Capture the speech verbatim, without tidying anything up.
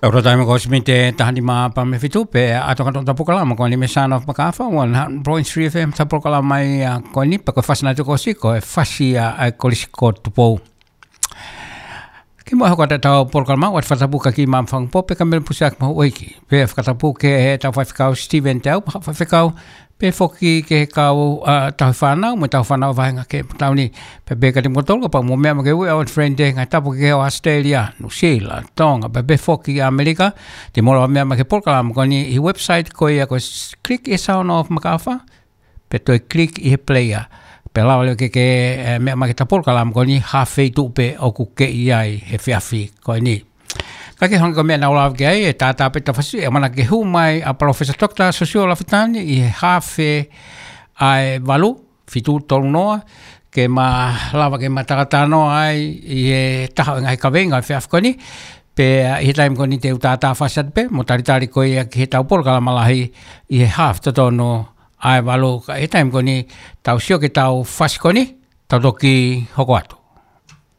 Ora taimi ko Simite taha nima pea mo e fitu pē, ʻa e tokanga atu ʻetau polokalama ko eni mei he Sound of Makafa, one hundred point three F M, ʻetau polokalama ia ko eni, pea ko e fasi naʻe toki ʻosi ko e fasi ʻa e Kolisi ko Tupou. Kimuʻa hoko atu ʻetau polokalama, ʻoatu e fakatapu kia Maama Fangupō pea mo Kamela Pusiaki Mahuʻiiki. Pea fakatapu ki heʻetau faifekau Steven Teau, mo e faifekau pea foki ki he kau, ʻa, tauhi fānau, mo e tauhi fānau vahenga ki he pō ni. Pea pehē kiate kimoutolu kapau ʻoku mou meʻa mai ki he We Are One Friend Day, ngaahi tapu kehe ʻo ʻAositelēlia, Nuʻusila, Tonga, pea pehē foki ʻAmelika, te mou lava meʻa mai ki he polokalama ko eni ʻi he website ko ia ko e s-, click ʻi he Sound of Makafa, pea toe click ʻi he player. Pea lava leva ke ke, ē, meʻa mai ki heʻetau polokalama ko eni ha feituʻu pē ʻoku ke ʻi ai he efiafi ko eni. Ka ke hanga ko e meʻa naʻa ku lave ki ai, ʻe tātā pē ʻetau fasi, ʻe ʻamanaki ke hū mai ʻa Palōfesa Doctor Siosiua Lafitani ʻi he haafe ʻa e valu, fitu tolu noa, ke ma lava ke ma talanoa ai ʻi he taha ʻo e ngaahi kaveinga ʻo e efiafi ko eni, pea ʻi he taimi ko eni te u tātā fasi atu pē, mo talitali ko ia ki heʻetau polokalama lahi ʻi he haafe totonu ʻa e valu, ka ʻi he taimi ko eni tau sio ki heʻetau fasi ko eni, tau toki hoko atu.